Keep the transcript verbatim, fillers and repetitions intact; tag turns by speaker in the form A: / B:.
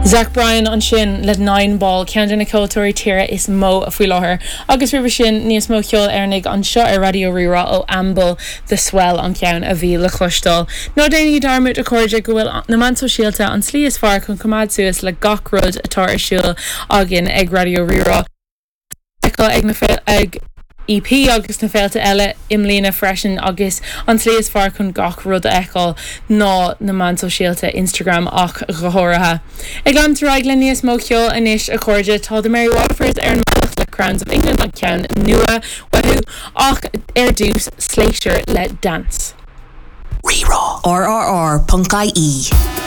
A: Zach Bryan ansin le Nine Ball ceann de na ceoltóirí tíre is mó a faoi láthair, agus roimhe sin níos mó ceoil Éireannaigh anseo ar Raidió Rí-Rá ó Amble the Swell an ceann a bhí le cloisteáil. Ná déanaigí dearmad a chairde go bhfuil na meáin shóisialta an tslí is fearr chun coimeád suas le gach rud atá ar siúl againn ag Raidió Rí-Rá. ag na ag EP agus na féilte eile i mbliana freisin agus an tslí is fearr chun gach rud a fheiceáil ná na meáin shóisialta Instagram ach go háirithe. Ag leanúint ar aghaidh le níos mó ceoil anois a chairde tá the Mary Waterfords ar an mbealach le Crowns of England an ceann nua uathu ach ar dtús Slayyyter le Dance.
B: Rí-Rá RRR.ie